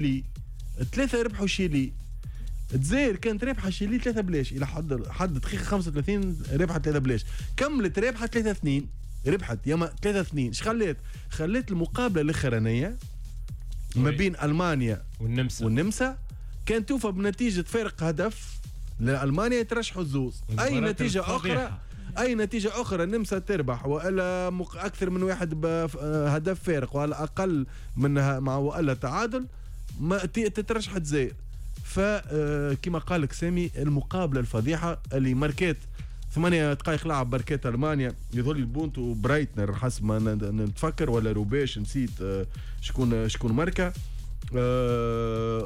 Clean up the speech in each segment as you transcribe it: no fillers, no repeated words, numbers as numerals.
شيلي، 3 ربحوا شيلي. الجزائر كانت رابحه شيلي 3-0 الى حد دقيقة 35، ربحت 3-0، كملت رابحه 3-2، ربحت ياما 3-2. اش خلات؟ خلات المقابلة الاخرانية ما بين المانيا والنمسا كان توفى بنتيجة فارق هدف لالمانيا، يترشحوا الزوز. اي نتيجة اخرى، اي نتيجة اخرى النمسا تربح والا اكثر من واحد بهدف فارق ولا اقل منها مع والا تعادل، ما تترشح الجزائر. فكما قال لك سامي، المقابلة الفضيحة اللي ماركات 8 دقائق لعب بركات المانيا، يظل البونتو برايتنر حسب ما نتفكر ولا روباش، نسيت شكون ماركة.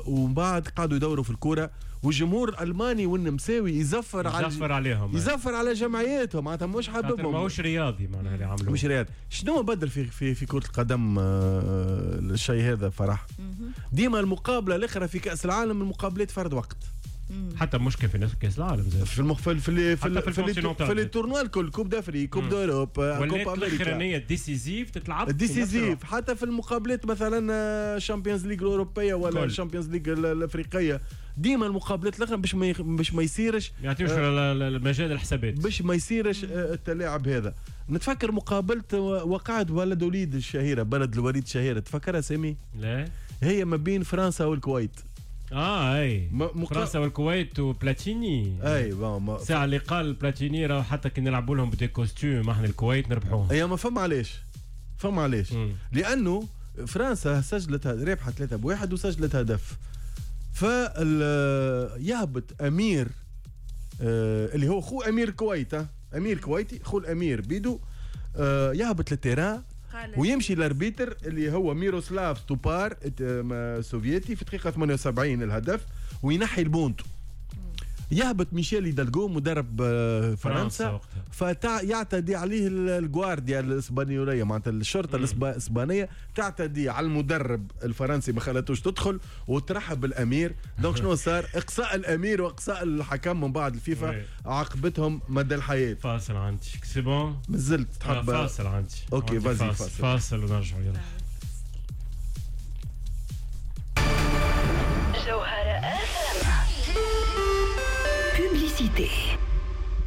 ومن بعد قعدوا يدوروا في الكورة، والجمهور الالماني والنمساوي يزفر عليهم، يزفر على جمعياتهم، معناتها مش حاببهم، ماهوش رياضي معناها اللي عملوه مش رياضي. شنو بدل في في في كرة القدم الشيء هذا فرح؟ ديما المقابلة الاخرى في كأس العالم المقابلات فرد وقت، حتى مشكل في نفس كاس العالم زي. في المخ في في في في les tournois الكل، Coupe d'Afrique، Coupe d'Europe، Coupe امريكا، الاخرانية décisive تتلعب décisive، حتى في المقابلات مثلا Champions League الاوروبية ولا ال Champions League الافريقية، ديما المقابلات الاخرى باش ما يصيرش، ما يعطيوش المجال الحسابات، باش ما يصيرش التلاعب هذا. نتفكر مقابله وقعت بلد وليد الشهيرة، بلد الوليد الشهيرة، تفكرها سامي؟ لا، هي ما بين فرنسا والكويت. اي فرنسا والكويت وبلاتيني. اي ساعة اللي قال بلاتيني راه حتى كي نلعبوا لهم ب des costumes احنا الكويت نربحوهم. اي ما فما علاش، فما علاش، لانه فرنسا سجلت ربحت 3-1 وسجلت هدف، فيهبط امير اللي هو خو امير الكويت، امير كويتي خو الامير بيدو، يهبط لل terrain ويمشي ل l'arbitre اللي هو ميروسلاف ستوبار سوفيتي في دقيقة 78 الهدف، وينحي البونتو. يهبط ميشيل هيدالغو مدرب فرنسا، فيعتدي عليه الجوارديا الاسبانيوليه، معناتها الشرطة الاسبانية تعتدي على المدرب الفرنسي، ما خلاتوش تدخل وترحب بالامير. donc شنو صار؟ اقصاء الامير واقصاء الحكم من بعد الفيفا عاقبتهم مدى الحياة. فاصل عندي، c'est bon مازلت تحب؟ فاصل عندي. OK vas-y، فاصل ونرجعوا يلا. جوهرة. Publicité.